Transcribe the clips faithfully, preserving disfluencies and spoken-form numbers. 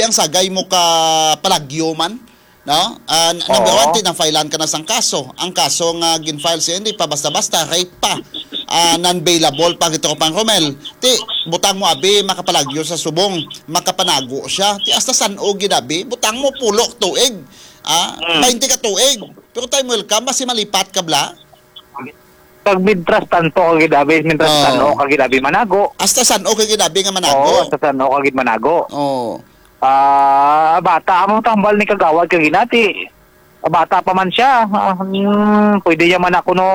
ang sagay mo ka palagyo man, no? Ah, n- number Oo. one, ti, na-filean ka na sang kaso. Ang kaso nga gin-file siya, hindi pa basta-basta, rape pa. Ah, non-bailable pa, Katropang Romel. Ti, butang mo abi, makapalagyo sa subong, makapanago siya. Ti, hasta san-o gid abi, butang mo pulo ka tuig. Ah, Mm. twenty ka tuig. Pero time will come, basi malipat ka bala. Kag mintras tanto ka gid abi, mintras Oo. Tanto ka gid abi manago. Hasta san-o ka gid abi nga manago. Oo, hasta san-o ka gid manago. Oo. Ah, bata amo tambal ni kagawad ka ginati. Bata pa man siya. Ah, hmm, pwede niya man ako no,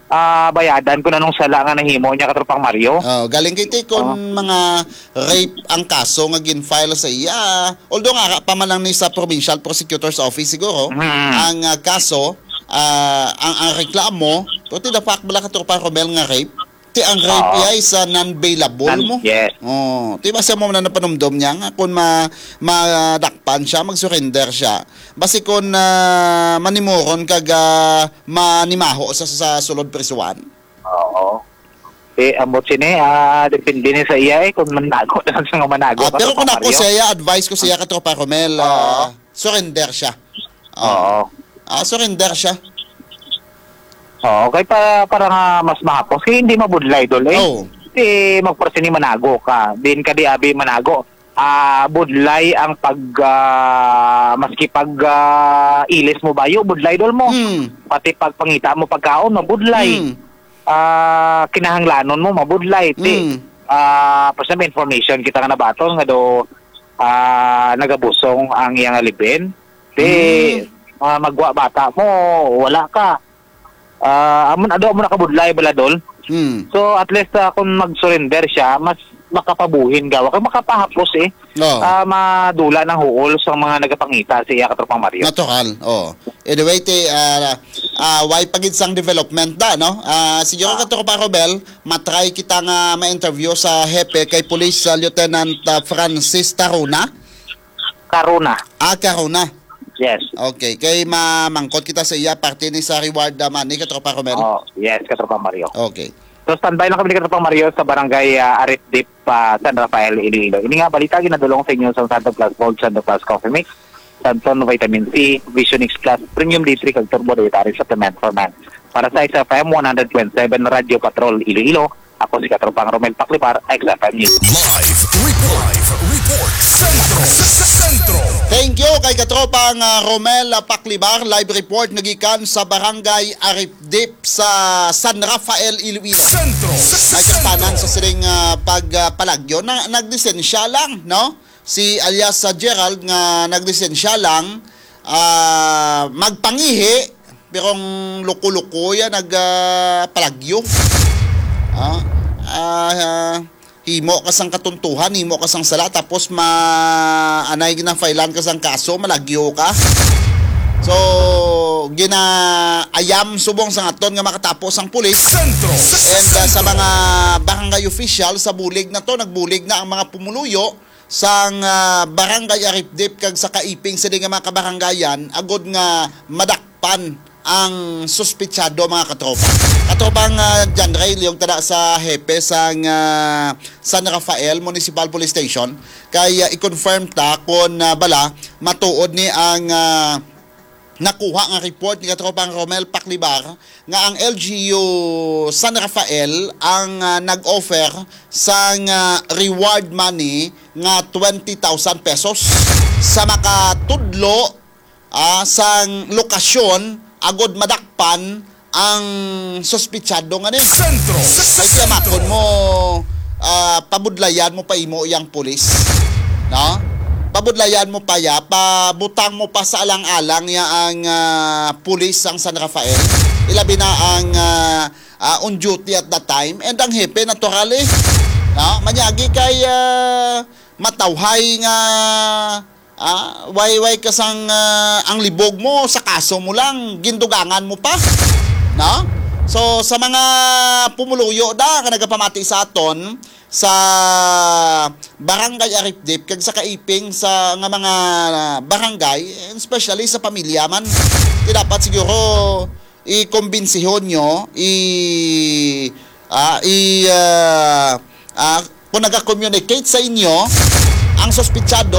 ah, bayadan kung anong sala nga nahimo niya, Katropang Mario. Oh, galing kay ti kon Oo. mga rape ang kaso nga gin-file sa iya. Although nga pa man lang ni sa provincial prosecutor's office siguro Mhm. ang ah, kaso, ah, ang ang reklamo, pero ti the fact bala, Katropang Romel, nga rape, ti ang rape Oo. iya is ah, non-bailable Nan- mo. Yes. Oh, ti basta mo na napanumdom niya nga kung ma madakpan siya, mag-surrender siya. Basi kung ah, manimuron kag ah, manimaho sa sa sulod prisuhan. Oo. Eh, ambot sini, ah, depende ni sa iya eh, kung manago na sa nga manago Ah, ka, pero Tropa kung ako Mario. Sa iya, advice ko sa iya, Katropang Romel, Oo. ah, surrender siya. Oo. Oo. Ah, surrender siya. Oo, kay pa, para nga mas mahapos, kay hindi mabudlay, Dol, eh. Oo. Di magparsini manago ka, din ka di abi manago. Ah, budlay ang pag, ah, maski pag, ah, ilis mo bayo, budlay, Dol, mo. Hmm. Pati pagpangita mo pagkaon, mabudlay. Hmm. Ah, kinahanglanon mo, mabudlay. Ti, Hmm. ah, for some information, kita nga nabaton nga do, ah, nagabusong ang iyang alibin. Ti, Hmm. ah, magwa bata mo, wala ka. Ah, amo na, ado mo nakabudlay bala, Dol. Hmm. So, at least, ah, kung mag-surrender siya, mas makapabuhin gawa kay makapahapos eh. Oo. Ah, madula ng huol sa mga nagapangita sa iya, Katropang Mario. Natural, oo. Anyway, ti, ah, ah, way pa gid sang development da, no? Ah, siguro, Oo. Katropang Romel, matry kita nga ma-interview sa hepe kay Police, ah, Lieutenant, ah, Francis Taruna. Karuna. Ah, Karuna. Yes. Okay, kay mamangkot kita sa iya parte ni sa reward, ah, money, Katropang Romel. Oh, yes, Katropang Mario. Okay. So, standby lang kami ni Katropang Mario sa barangay, ah, Aripdip, ah, San Rafael, Iloilo. Ini nga balita ginadulong sa inyo sa Santo Plus Gold, Santo Plus Coffee Mix, Santon Vitamin C, Vision X Plus, Premium D three, kag Turbo Dietary Supplement for Men. Para sa X F M one hundred point seven Radyo Patrol, Iloilo, ako si Katropang Romel Paclibar, X F M News. Live report. Live report. Sentro. Sentro. Thank you kay Katropang, ah, Romel, ah, Paclibar. Live report nagikan sa Barangay Aripdip sa San Rafael, Iloilo. Sentro. Nagkatanan sa siring, ah, pag, ah, palagyo na naglisensya lang, no? Si alias sa Gerald nga naglisensya lang, ah, magpangihi, pero ang luko-luko yan, nag, ah, palagyo. Ah, ah, ah, himo ka sang katuntuhan, himo ka sang sala, tapos ma-, anay ginafailan ka sang kaso, malagyo ka. So, ginaayam subong sang aton nga makatapos ang pulis. Sentro. And, ah, sa mga barangay official, sa bulig na to, nagbulig na ang mga pumuluyo sang, ah, Barangay Aripdip kag sa Kaiping sini nga mga kabarangayan agod nga madakpan ang suspitsado, mga katropa. Katropang, ah, John Ray, liyog tada sa hepe sang, ah, San Rafael Municipal Police Station kay, ah, i-confirm ta kon, ah, bala matuod ni ang, ah, nakuha nga report ni Katropang Romel Paclibar nga ang L G U San Rafael ang, ah, nag-offer sang, ah, reward money nga twenty thousand pesos sa makatudlo, ah, sang lokasyon agod madakpan ang suspitsado nga ni. Sentro. Ay, kamakon mo, ah, pabudlayan mo pa imo yang pulis, no? Pabudlayan mo pa ya, pabutang mo pa sa alang-alang ya ang, ah, pulis sang San Rafael. Ilabi na ang, ah, ah, on duty at that time and ang hepe, naturally, no? Manyagi kay, ah, matawhay nga, ah, way, way ka sang, ah, ang libog mo sa kaso mo lang, gindugangan mo pa, no? So, sa mga pumuluyo da nga nagapamati sa aton, sa Barangay Aripdip kag sa Kaiping sa nga mga barangay, and especially sa pamilya man, ti dapat siguro i-kombinsihon nyo, i, ah, i, ah, ah, kung naga-communicate sa inyo ang suspitsado,